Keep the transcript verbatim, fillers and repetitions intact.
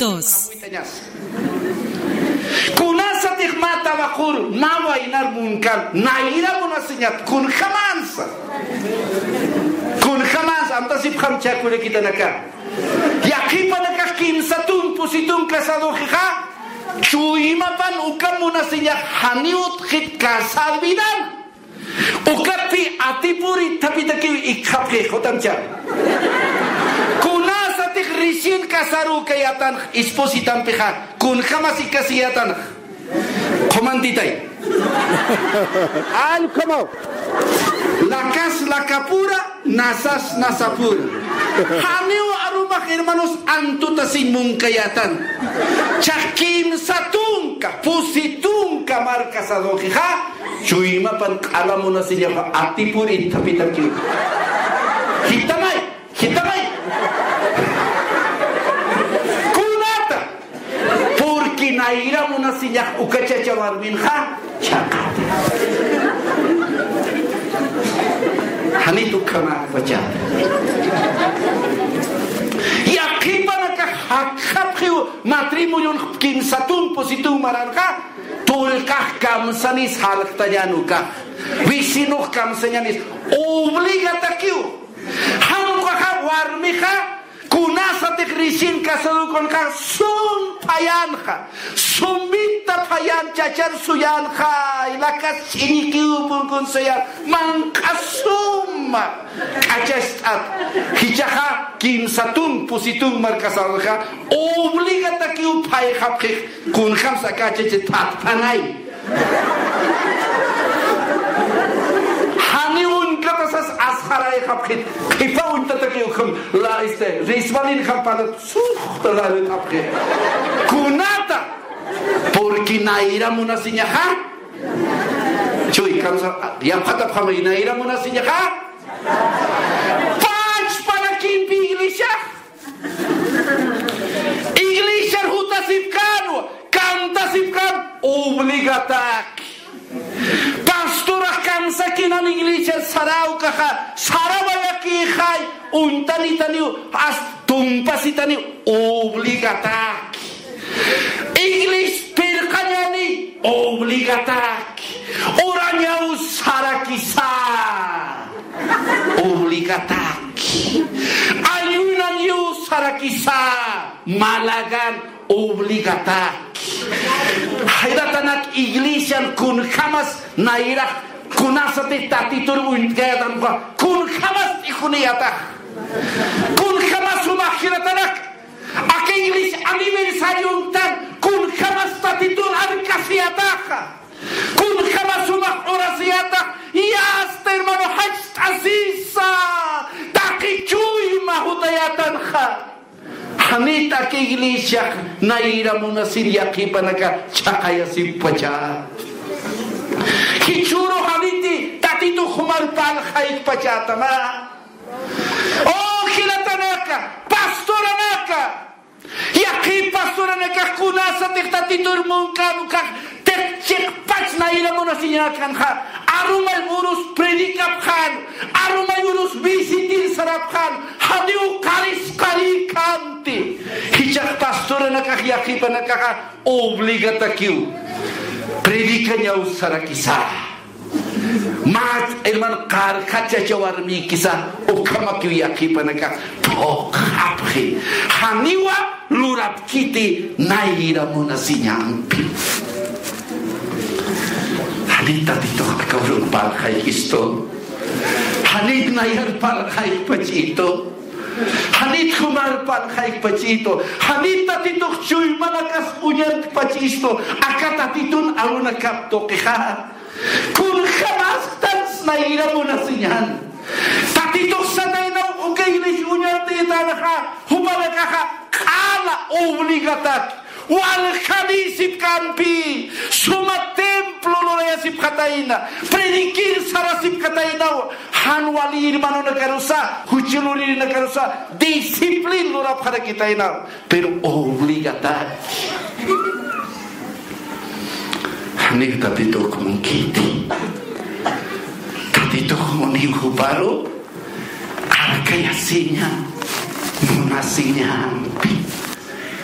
Dos. Kunasatix mä tabaqur, mä waynar munkar, nayra munasiñat, kunjamansa. Kunjamansa, amtasipxam chä kullakitanaka. Yaqhipanakax kimsa tun, pusi tun casadoxixa, chuymapan uka munasiñax janiw utjit casar vidan. Ukatpi atipur itthapitakiw ikxapxi, jutamcha. Kunasatix recién casarükayatanx espositampixa, kunjamas ikasiyätanx. Qhumantitay. Alkama. Lakas lakapura, nasas nasapura. Janiw arumax, hermanos, antutasiñ munkayätan. Chax kimsa tunka, pusi tunka mar casadoxixa, chuymapan q'ala munasiñaxa atipur itthapitakiw. Jitamay, jitamay. Kunata. Porque nayra munasiñax uka chacha warminxa chhaqata. Janit ukhamäpachata. Yaqhipanakax jakxapxiw matrimonion kimsa tun, pusi tun maranxa, tullqax kamsanis jalktañän ukax. Vecinux kamsañänis. Obligatakiw. Jan ukaxa warmixa, kunasatix recién casado kunxa, sum phayänxa, sumita phayän chachar suyänxa, ilakas ch'iñikiw punkun suyän, manq'a suma k'achast'at. Jichhaxa kimsa tun, pusi tun mar casadoxa, obligatakiw phayxapxix, kunjamsa aka chacha thatphanay. Janiw uñkatasas asxarayxapxit, qhipa uñtatakiw ukham, la, este, resbalinxam palat, suxta la ritapxi. Kunata, porque nayra munasiñaxa. Chuy, kamsa, yapxatapxamay, nayra munasiñaxa. Pachpa rakimpi iglesiax. Iglesiar jutasipkänwa, kantasipkän, obligataki. Pastorax kansakinan iglesiar saräwkaxa, sarawayakïxay, uñtanitaniw, hasta tumpasitaniw, obligataki. Iglesia pirqañäni, obligataki. Urañaw sarakisa. Obligataki. Ayunañaw sarakisa. Malagan obligataki. Jayratanak iglesian kunjamas nayrax kunasatix Tatitur uñt'kayatanxa kunjamas t'ijuniyatax. Kunjamas jumax jilatanak. Aka iglesia aniversarion tan kunjamas Tatitur arkasiyataxa. Kunjamas jumax urasiyatax, y hasta hermano jach't'asisa, taqi chuyma jutayätanxa. Janit aka iglesiax nayra munasir yaqhipanaka chhaqayasippacha. Jichhüru janiti Tatitux jumar parlxaykpachätama. Oh, jilatanaka, pastoranaka. Yaqhip pastoranakax kunasatix Tatitur munkän ukax, chiqpach nayra munasiñakanxa, arumay urus predicapxän, arumay urus visitir sarapxän, janiw qarisqarïkänti. Jichhax pastoranakax yaqhipanakaxa obligatkiw. Predicañaw sarakisa. Mä hermano, qarjat chacha warmïkisa, ukhamakiw yaqhipanakax phuqhapxi. Janiwa lurapkiti nayra munasiñampi. Janit Tatitux aka urun parlxaykistu. Janit nayrar parlxaykpachistu. Janit jumar parlxaykpachistu. Janit Tatitux chuymanakas uñarkpachistu. Aka Tatitun arunakap tuqixa. Kunjamas tans nayra munasiñan. Tatitux sataynaw uka iglesia uñartaytanxa, jupanakaxa q'ala obligatak. Waljanïsipkampi, suma templo lurayasipxatayna, predicir sarasipxataynaw, jan wali hermanonakarusa, juchulurinakarusa, disciplin lurapxarakitaynaw, pero obligatak. Janiw Tatitux munkiti. Tatitux muniw juparu arkayasiña munasiñampi.